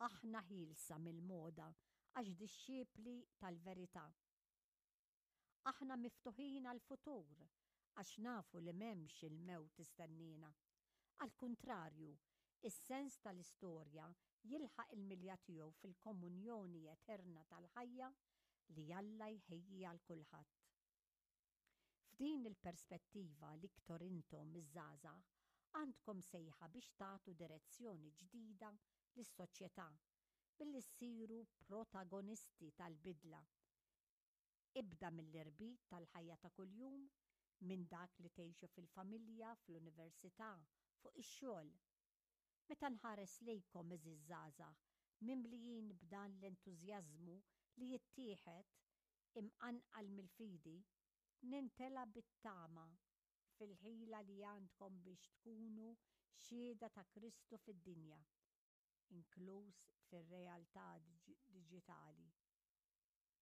Aħna ħielsa mill-moda għax dixxipli tal-verità. Aħna miftuħin għall-futur għax nafu li m'hemmx il-mewt tistenniena. Għall-kuntrarju, is-sens tal-istorja jilħaq il-milja tiegħu fil-komunjoni eterna tal-ħajja li Alla jħejji għal kulħadd. F'din il-perspettiva l-iktor intom iż-żgħażagħ għandkom sejħa biex tagħtu direzzjoni ġdida lis-soċjetà billi ssiru protagonisti tal-bidla. Ibda mill-irbit tal-ħajja ta' kuljum, minn dak li tgħixu fil-familja, fl-università, fuq ix-xogħol. Meta nħares lejkom għeżież żgħażagħ, mimlijin b'dan l-entużjażmu li jittieħed, imqanqal mill-fidi, nintela' bit-tama fil-ħila li għandkom biex tkunu xhieda ta' Kristu fid-dinja, inkluż fir-realtà diġitali.